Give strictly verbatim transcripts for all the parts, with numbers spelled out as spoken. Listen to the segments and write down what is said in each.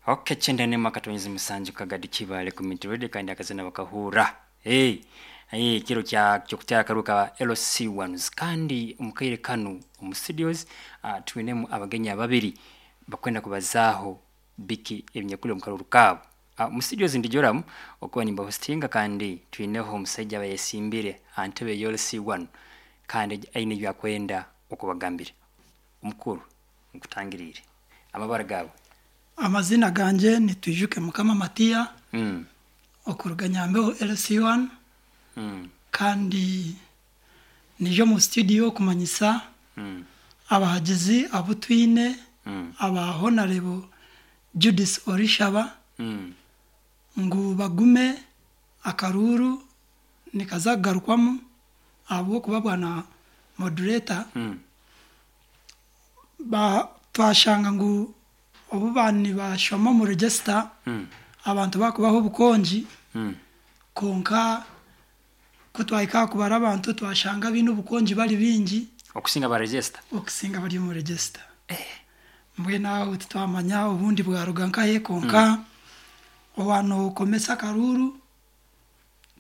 Okay, kyenda n'emwe akatonyezi musanju Kagadi Kibaale Community Radio, kandi akazina bakahurra. Hey, hey, kiro kya kyokutera akaruuru ka L C ones. Kandi omukaire kanu omu studios uh, twinemu abagenyi ababiri bakwenda kubazaaho biki ebinyakuli omu karuuru kaabo. uh, mu studios ndi Joram okuba nimbahostinga, kandi twineho omusaija abayesimbire aha ntebe ya L C one, kandi aine ebyakwenda okubagambira. Omukuru, nkutangiriire, amabara gaawe? Amazina ganje ni Twijuke Mukama Matiya, mm. okuruga Nyambeho L C one. Mm. Kandi nije omu studio kumanyisa Mm. abahagizi abu twine, Mm. aba Honorable Judith Orishaba, Mm. ngu bagume, akaruuru nikaza kugarukwamu, ahabw'okuba bwana moderator, Mm. ba twashanga ngu obu bani bashoma omu register, Mm. abantu bakubaho obukongi. Mm. Konka ku twahika kubara abantu, twashanga biine obukongi bari bingi okusinga ba register. Okusinga bari omu register. Mbwenu aho titwamanya obundi bwaruga nkahe, konka owanokomesa akaruuru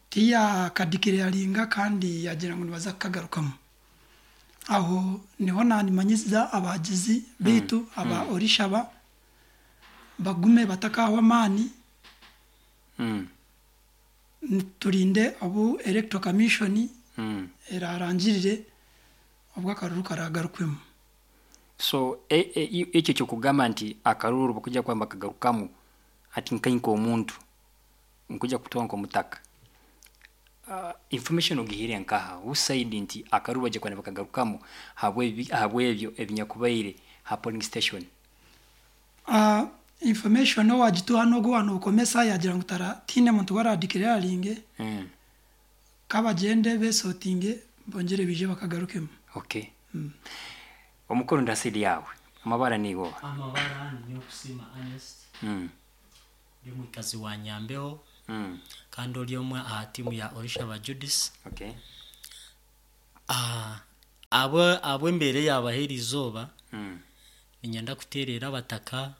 tiyakadeclaringa, kandi yagira ngu nibaza kukagarukamu. Aho niho nanimanyisiza abahagizi bitu aba Orishaba bagume batakahwa amaani. Mm. Turinde obu Electoral Commission Mm. erarangirire obwo akaruru karagarukwemu. So e, e, i- ekyo kyokugamba nti akaruuru bakujja kuba bakagarukamu, ati nkai nk'omuntu nkuja kutoa nk'omutaka, uh, information ogihire nkaha? Who said nti akaruuru bajja kuba nibakagarukamu habw'ebi- habw'ebyo ebinyakubaire ha polling station? Uh, information owagituha n'ogu wanokomesa, yagira ngu tara tiine muntu waradeclaringe. mm. Kabagende besortinge, bongere bije bakagarukemu. Okay, omukuru, ndasidi yawe, amabara nigo? Amabara ni Okusima Ernest. mm. Ndi omwikazi wa Nyambeho, Mm. kandi ori omwe aha tiimu ya Orishaba Judith. Okay Ah, abo abo embeera yabaho eri izooba, mm. ninyenda kuteerera abataka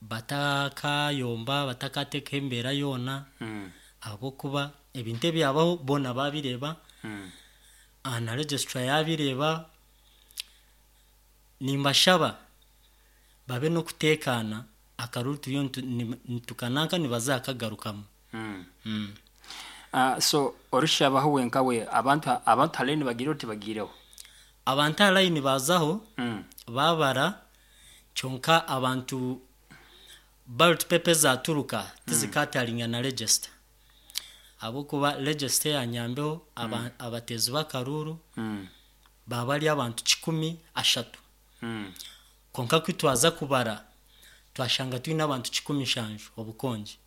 batakayomba, batakateekaho embeera yoona, Mm. ahabw'okuba ebintu ebyabaho boona babireeba, Mm. ah, na registrar yabireeba. Nimbashaba babe n'okuteekaana. Akaruru turiyo nitu- ni- nitukananka nibaza kagarukamu. Mm. mm. Uh, so orushabaho wenkawe, abantu abantu haleni bagireho, tibagireho? Abantu aha layini bazaho, mm. babara, kyonka abantu ballot paper zaturuka tizikatalinga na register, ahabwokuba register ya Nyambeho aba, abateezi b'akaruuru Mm. baba bari abantu kikumi ashatu. Mm. Konka ku twaza kubara, twashanga twine abantu kikumi nshanju obukongi.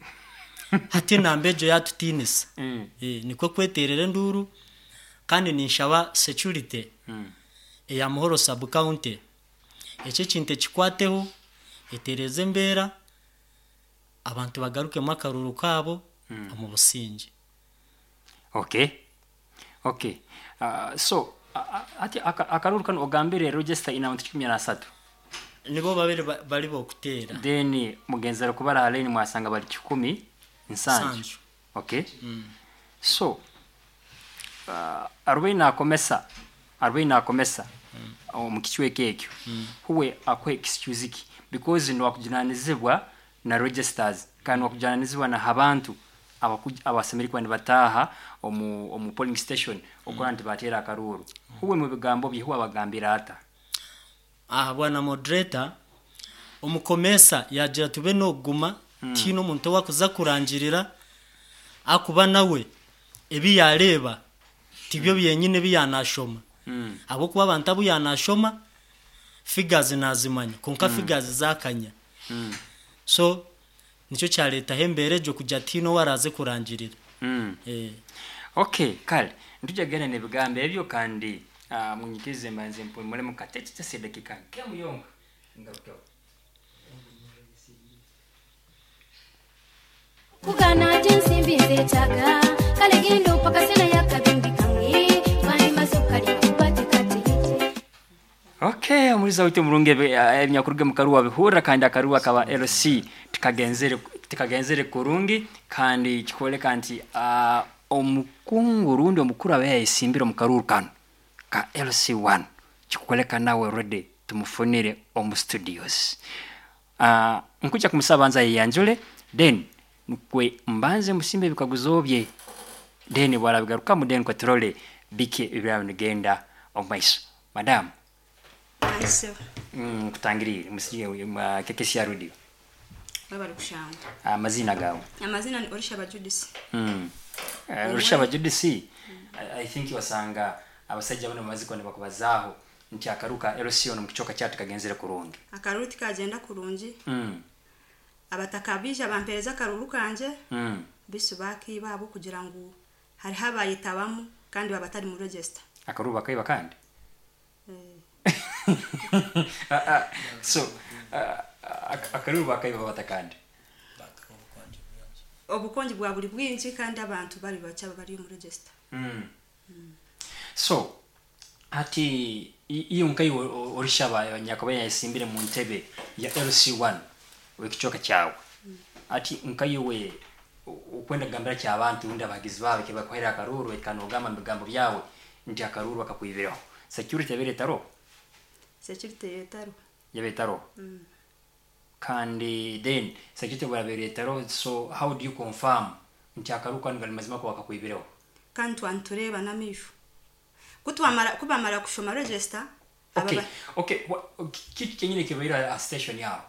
Hati enamba egyo yatutiinisa. Mm. e, nikwo kweterera enduuru, kandi ninshaba security Mm. eya Muhoro sub county ekyo ekintu ekikwateho, etereze embeera, abantu bagarukemu akaruru kaabo Mm. omu businge. okay okay uh, so uh, ati aka- akaruru kano ogambire register ina abantu kikumi na asatu. Nibo babiri ba- bari bokuteera. Then mugenzera kubara haleni, mwasanga bali kikumi nsanju. Nsanju. Okay, so uh, arubaini akomesa arubaini akomesa omu kicweka ekyo, huwe akuha excuse ki? Because niwakujunanizibwa na registers, kandi niwakujunanizibwa na abantu abaku- abasemeri kuba nibataaha omu, omu polling station okora nti bateera akaruuru. Huwe mu bigambo bye, huwe abagambira ata? Aha bwana moderator, omukomesa yagira tube nokuguma, tiine omuntu owakuza kurangirira, akuba nawe ebi yareeba tibyo byenyine ebi yanashoma, mm. ahabwokuba abantu abu yanashoma figures nazimanya, konka figures zakanya. Mm. So nicyo kyaretaho embeera egyo kugira tiine owaraze kurangirira. Mm. Eh. Okay, kale ntujagenda n'ebigambo ebyo, kandi uh, munyikirize mbanze mpumulemu katete dakika nkemu yonka, ngarukeho. Kugana ensimbi nzeetaaga, kale genda opaka sena yakabimbi kamwe twandimaze okukalima kubatekatete. Okay, omuliza witu omurungi ebinyakuruga mu karuwa bihurra kandi akaruwa kaba L C tikagenzere tikagenzere kurungi kandi kikoleka nti uh, omukungu rundi omukuru abe yayesimbire omu karuru kano ka L C one kikoleka nawe already tumufunire omu studios. Uh, nkuja kumusaba nza yeyanjule then nkwe mbanze musimbe ebikaguzo bye then bwarabigarukamu then kweturole bike ebiraba nigenda omu maiso. Madam Mm, kutangirire musije kekesi ya radio. Baba kushanga. Amazina gawe. Amazina ni Orishaba Judith. Mm. Uh, Orishaba Judith. Mm. I, I think wasanga abasajja bano maziko ne bakubazaaho nti akaruka L C ono mukichoka kyatu kagenzere kurungi. Akaruti kagenda kurungi. Mm. Abatakabija bampereza karuru kanje. Mm. Bisu bakiba abo kugira ngu hari habayitabamu kandi babatari mu register. Akaruba kaiba kandi. Mm. uh, uh, so uh, akaruba kaiba batakandi. Obukonji bwa buli bwingi kandi abantu bali bacha bali mu register. Mm. Mm. So ati iyo nkai Orishaba nyakoba yasimbire mu ntebe ya L C one wekichoka kyawe. Mm. Ati nkai we ukwenda gambira kya abantu undi abagizi bawe kebakwera akaruru ekanogamba migambo byawe nti akaruru akakwibiraho. Security yabere taro. Security yetaro. Yabetaro. Mm. Kandi then security yabere taro, so how do you confirm nti akaruka ngali mazima ko akakwibiraho? Kandi twantureba namisho. Kutwamara kubamara kushoma register. Okay. Okay, kitu kenyine kibaira a station yao.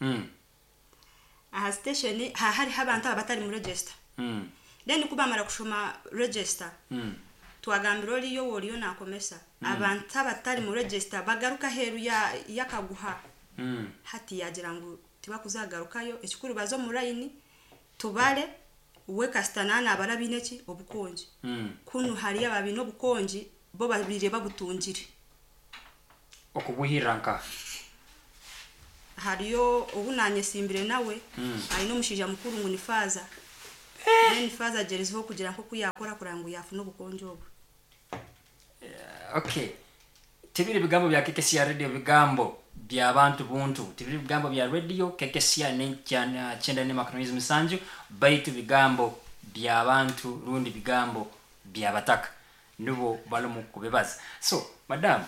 Mm. Aha station ha hari abantu abatari mu register. Mm. Then kubamara kushoma register. Mm. Twagambira oliyo woliyo nakomesa. Mm. Abantu abatari mu register bagaruka heru ya yakaguha. Mm. Hati yagira ngu tibakuzagarukayo ekikuru bazo mu line tubale we kastanana abarabineki obukonji. Mm. Kunu hari ababino obukonji bo babire babutungire. Okubuhiranka. Hariyo obunanye simbire nawe. Mm. Ayino mushija mukuru ngu ni faza. Then faza jerezeho kugira nko kuyakora kurangu yafuna obukonji obu. Uh, okay. Tibiri bigambo bya K K C radio bigambo bya bantu buntu. Tibiri bigambo bya radio K K C ne chenda ne makronizi musanju baitu bigambo bya bantu rundi bigambo bya bataka. Nubo balomu kubebaza. So, madam,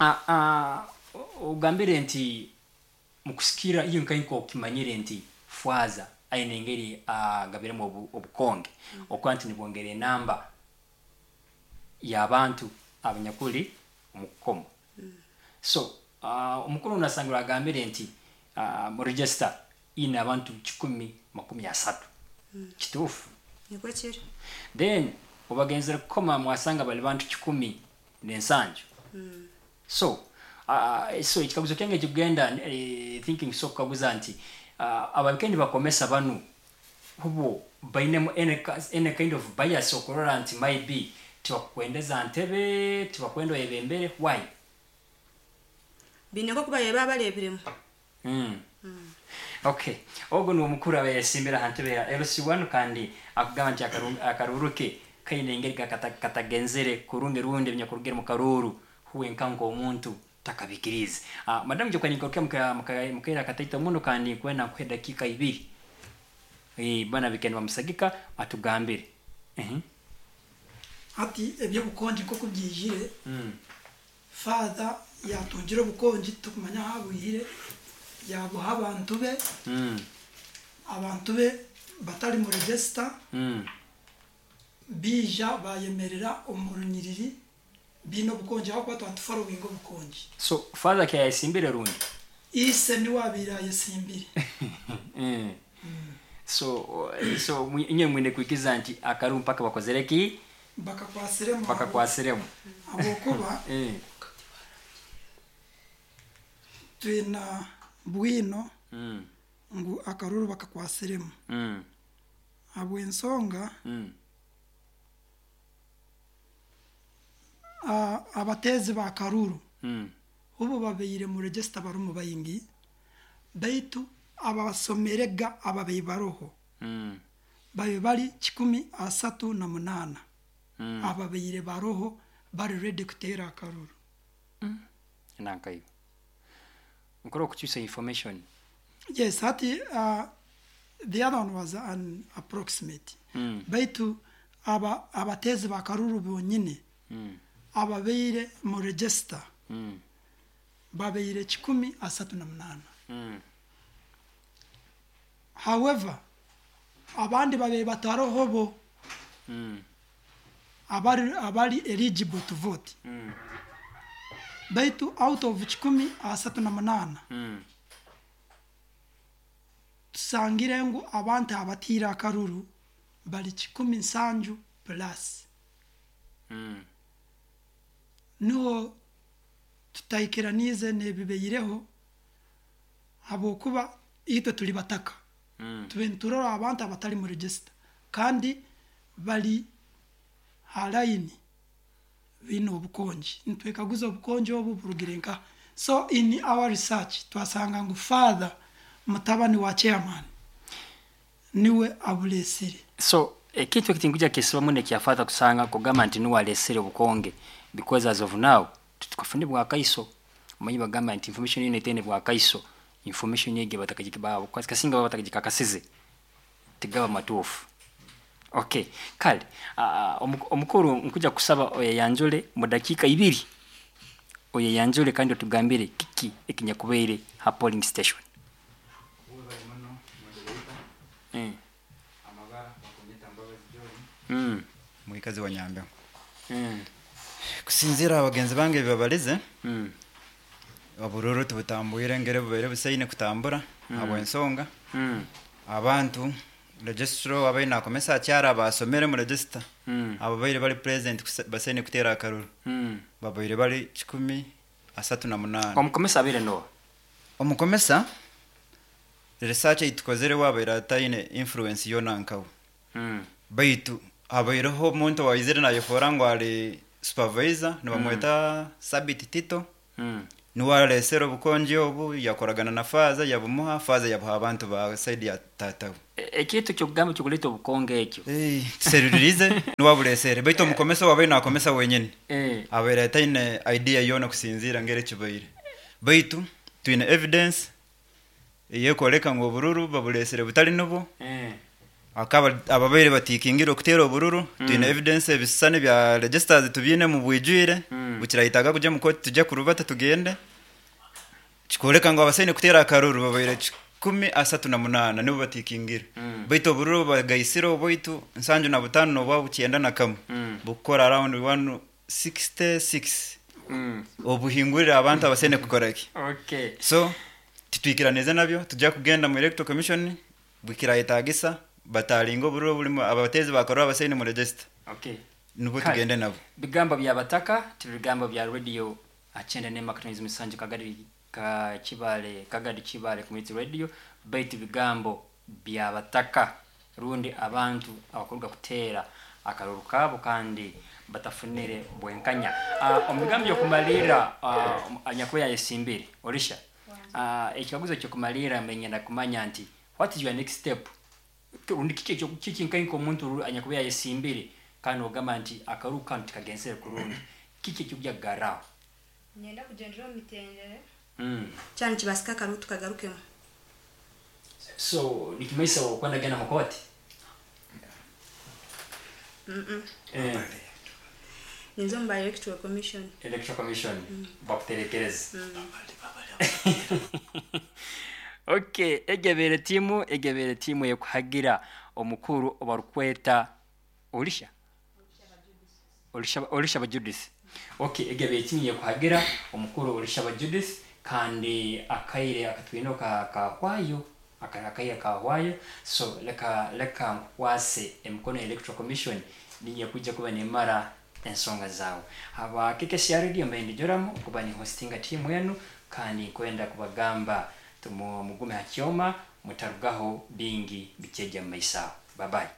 a a ugambire nti mukusikira iyo nkainko kimanyire nti fwaza aine ngeri agabiremo obu, obukonge. Mm. Okwanti nibwongere namba y'abantu abanyakuli omukomo. Mm. So, uh, omukuru unasangura agambire nti uh, mu register ina abantu kikumi makumi asatu. Mm. Kituufu. Niko kiri. Then obagenzera kukoma mwasanga bali bantu kikumi n'ensanju. Mm. So, uh, so ekikaguzo kyange kigenda eh, thinking so kukaguza nti uh, abakendi bakomesa banu hubo bainemu any, any kind of bias okurora nti maybe tibakwendeza ntebe tibakwenda ebembere why bineko kuba yeba balebiremu. Mm. Mm. Okay, ogo ni omukuru abayesimbira hantebe ya L C one kandi akugamba nti akaruruke kaine engeri katagenzere kurungi rundi ebinyakurugire mu karuru huwe nkanko omuntu takabikirize. Ah, uh, madamu jokwa nikokia mka mkaira kataita muno kandi kwenda kwa dakika ibiri. Eh bana bikendwa musagika atugambire. Mhm. Mm Ati ebyo bukonji ko kubyijire. Mm. Father yatungira obukonji tukumanya habwihire yabuha abantu be. Mm. Abantu be batari mu register. Mm. Bija bayemerera omurunyiriri bino bukonji aho kwatwa following obukonji. So father kya yasimbire rundi. Ise ni wabira yasimbire. Mm. Mm. So so inye mwine kuikiza nti akaru mpaka bakozereki bakakwasiremu bakakwasiremu abokuba eh twina bwino mm. ngu akaruru bakakwasiremu mm. abwensonga mm. uh, abatezi ba karuru mm. ubu babeire mu register barumu bayingi baitu abasomerega ababeyi baroho mm. babe bali kikumi asatu na munana. Mm. Ababaire baroho bari ready kuteera akaruru. Nankayo nkora okukyusa information. Yes, hati uh, the other one was an approximate. Mm. Baitu aba abateezi bakaruru bonyine Mm. ababaire mu register Mm. babaire kikumi asatu na munaana. Mm. However, abandi babaire bataroho bo Mm. abari abari eligible to vote. Mm. Baitu out of kikumi asatu na munaana Mm. tusangire ngu abantu abatiire akaruru bari kikumi nsanju plus. Mm. Niho tutahikiranize n'ebibaireho habwokuba itwe turi bataka. Mm. Tube niturora abantu abatari mu register kandi bari ha line bine obukongi, nitwekaguza obukongi obu burugire nka. So in our research twasanga ngu father mutabani wa chairman niwe aburesire. So ekintu ekitinkuja kisibamu nekyafatha kusanga kugamba nti niwe alesere obukonge, because as of now tutukafune bwakaiso omanyi bagamba nti information yine etene bwakaiso information yege batakagikibabo kasinga baba batakagikakasize tigaba matuufu. Okay, kale uh, omukuru nkuja kusaba oyeyanjule mu dakiika ibiri, oyeyanjule kandi otugambire kiki ekinyakubaire ha polling station. Mm. Mm. Mwikazi wa Nyambe. Mm. Kusinzira abagenzi bange bibabalize Mm. obururu tubutambwire ngere bubaire busaine kutambura Mm. habw'ensonga Mm. abantu registro abaine akomesa akyara basomere mu register Mm. abo baire bari present kuse- basaine kuteera akaruru Mm. babaire bari kikumi asatu na munaana. Omukomesa abaire noa? Omukomesa research eitukozere wabaire ataine influence yona nkawe. Mm. Baitu habaireho omuntu waizire nayefoora ngu ari supervisor nibamweta mm. Sabit Tito. Mm. Niwe aresere obukongi obu yakoragana na faza yabumuha, faza yabuha abantu ba side ya tatawe. E- ekintu kyokugamba kyokuleeta obukonge ekyo. Hey, tuseruririze niwe aburesere baitu omukomesa wabaire nakomesa wenyini Eh. abaire ataine idea yoona kusinziira ngeri ekibaire, baitu twine evidence eyekoreka ngu obururu baburesere butari nibwo. Eh. Akaba ababaire batikingire okuteera obururu Mm. twine evidence ebisisani bya registers tubyine mu bwijwire. Mm. Bukirahitaga kujya mu koti tujya kurubata tugende kikoreka ngu abasaine kuteera akaruru babaire kikumi asatu na munaana nibo batikingire. Mm. Baitu obururu bagaisire obwaitu nsanju na butaano nobwa bukyenda na kamwe Mm. bukukora around one sixty six. Mm. Obuhingurire abantu abasaine kukora ki. Okay. So titwikiranize nabyo tujya kugenda mu electoral commission bukirahitagisa batalinga obururu bulimu abatezi bakarura abasaine mu register. Okay. Nibwo Kale. tugende nabo. Bigambo bya bataka tibigambo bya radio akyenda ne makatonizi musanju Kagadi ka Kibale Kagadi Kibale Community Radio, baitu bigambo bya bataka rundi abantu abakuruga kuteera akaruru kabo kandi batafunire bwenkanya. Uh, omu bigambo byokumalira uh, anyakuba yayesimbire orisha uh, ekikaguzo kyokumalira menyenda kumanya nti what is your next step, rundi kiki ekyo kiki nkainka omuntu anyakuba yayesimbire kandi ogamba nti akaruru kanu tikagenzere kurungi, kiki ekikujja kugarraho? Nyenda kugendera omu mitendere Mm. kyana kibasika akaruru tukagarukemu. So nikimaisa okwenda genda mukoti? Mm-mm. Eh, Ninza omu ba electoral commission. Electoral commission Mm. bakuterekereza. Mm. Okay, egebere timu egebere timu ekuhagira omukuru obarukweta Olisha Olisha Olisha ba Judith. Okay, egebere timu ekuhagira omukuru Olisha ba Judith kandi akaire akatwino ka kahwayo akaire kahwayo, so leka leka nkwase emikono electoral commission ninye kujja kuba nemara ensonga zawe. Aba K K C R Radio mbendi joramu kuba ni hostinga timu yenu kandi kwenda kubagamba tumu mugume hakyoma mutarugaho bingi bicheja mu maisha. Bye bye.